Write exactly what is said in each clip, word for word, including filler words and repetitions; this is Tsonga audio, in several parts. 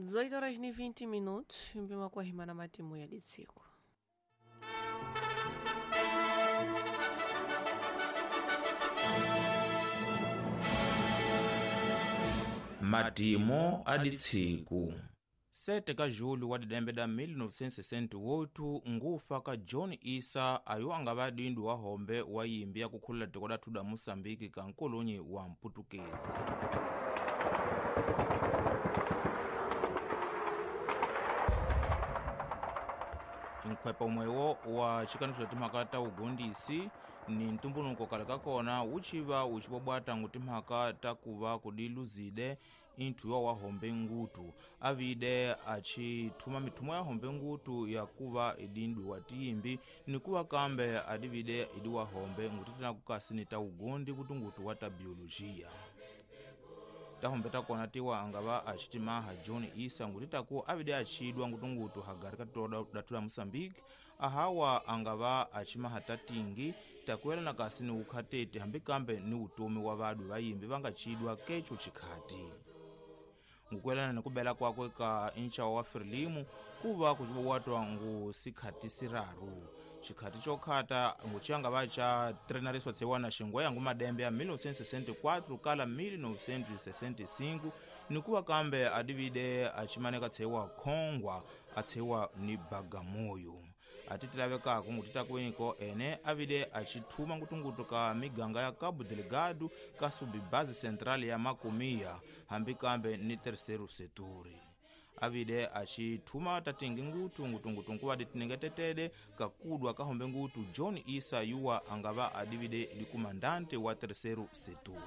dezoito horas ni vinte minutos, mpima kwa himana matimu ya ditsiku. Madimo a ditsiku sete ka julho wa didembe da mil novecentos e sessenta e oito ngufa ka John Issa ayo anga va dindu wa hombe wa yimbi ya kukhulula tiko la thuda Moçambique ka nkolonyi wa mputukezi. Nkhwepa umwewo wa xikaniso xa timhaka ta ugondisi ni ntumbunuko kale ka kona wu xiva wu xivobwata ngu timhaka ta kuva kudiluzide inthuwa wa hombe ngutu avide achithuma mithumo ya hombe ngutu ya kuva idindwi wa tiyimbi ni kuva kambe adivide idi wa hombe ngutitena kukasi ni ta ugondi kutungutu wa ta biologia. Tahombe takona tiwa angava achitimaha John Issa ngutitaku avide achidwa ngutungutu hagari katoda datula Moçambique ahawa angava achimaha tatingi takuela na kasi ni ukhatete hambi kambe ni utomi wa vadu vayimbi vangachidwa kecho chikhati. Ngukwelana nikubela kwakwe ka inchawa wa Frelimu kuva kuchibowatwa ngu sikhati siraru. Chikhati chokhata nguchanga vacha trenariswa tsewana xingweya ngu madembe ya mil novecentos e sessenta e quatro kala mil novecentos e sessenta e cinco nikuva kambe adivide achimaneka tsewa Khongwa atsewa ni Bagamoyo. Atitilavekako ngutitakuweniko ene avide achithuma ngutungutu ka miganga ya Cabo Delgado ka subbase central ya Macomia hambi kambe ni terceiro setor. Avide achithuma tatingi ngutu ngutungutu nkuva ditinengetetede kakudwa kahombe ngutu John Issa yuwa angava adivide likumandante wa terceiro setor.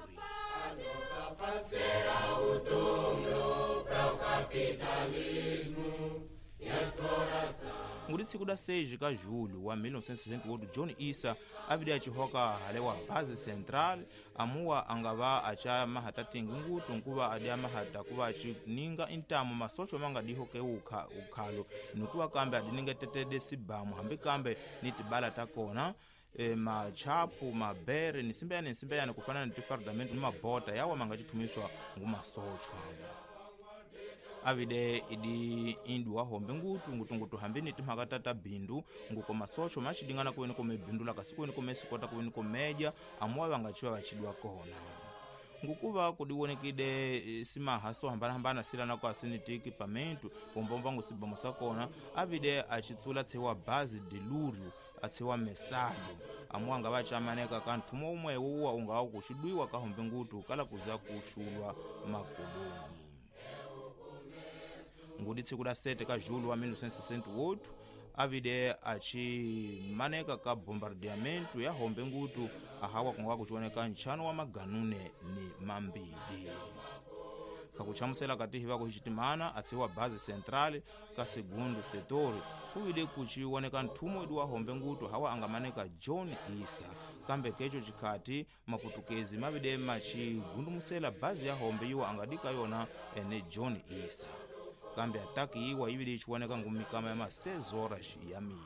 Nguri tsiku da seis ka julho wa mil novecentos e sessenta e oito John Issa avide achihoka hale wa base central amuwa angava acha mahatatingi ngutu nkuva adi amahata kuva achininga intamo masocho manga dihoke ukha ukhalo nikuva kambe adiningetetede sibamu hambi kambe ni tibala takona e, machapu mabere ni simbeyane simbeyane kufanana ni tifardamento ni mabota yawa manga chithumiswa ngumasochwa. Avide idi indu wa hombe ngutu ngutungutu hambini timhaka tata bindu nguko masocho machidingana kuweni kome bindu la kasi kuweni kome sikota kuweni komeja amuwa vangachiwa vachidwa kona. Ngukuva kudiwonekide simaha so hambana hambana silana kwa sinitiki pamentu pombomba ngusibomo sakona avide achitsula tsewa base de lurio atsewa mesalo amuwa nga vachamaneka kanthumo umwe uwa ungawa kuxidwiwa ka hombe ngutu kala kuza kuxulwa makoloni. Ngudi tsiku la sete ka julho wa mil novecentos e sessenta e oito avide achimaneka ka bombardeamento ya hombe ngutu ahawa kunga kuchioneka nchano wa maganune ni mambili. Kakuchamusela katihi vako hichitimana atsiwa base central ka segundo setor kuvide kuchioneka nthumo idi wa hombe ngutu hawa angamaneka John Issa kambe kecho chikhati maputukezi mavide machigundumusela base ya hombe iwa angadika yona ene John Issa. Kambe ataki iwa ibili ichiwoneka ngumikama ya ma seis horas ya mili.